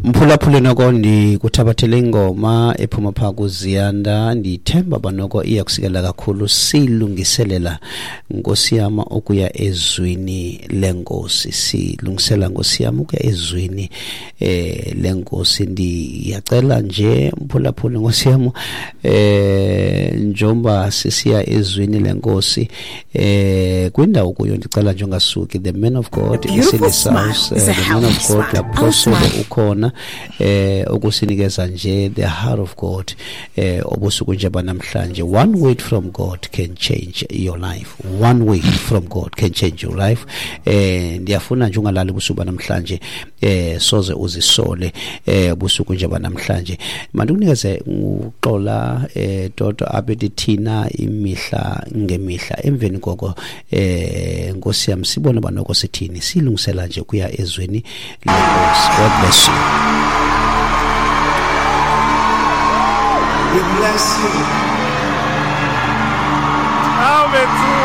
Mphulaphuli, noko ndikuthabathele ingoma ephuma phaa kuZiyanda. Ndithemba uba noko iya kusikela kakhulu. Silungiselela, Nkosi yam, ukuya ezwini lenkosi. Silungisela, Nkosi yam, ukuya ezwini lenkosi. Ndiyacela nje, mphulaphuli, Nkosi yam, njengoba sisiya ezwini lenkosi kwindawo kuyo, ndicela nje ungasuki. The man of God is in his house. The man of God, the apostle, ukhona ukusinikeza nje the heart of God obusuku nje banamhlanje. One word from God can change your life. One word from God can change your life. Ndiyafuna nje ungalali ubusuku banamhlanje, soze uzisole ubusuku nje banamhlanje. Mandikunikeze uXola Toto apha thina imihla ngemihla. Emveni koko, Nkosi yam, sibone uba noko sithini. Silungisela nje kuya ezweni lenkosi. God bless you. We bless you. Amen.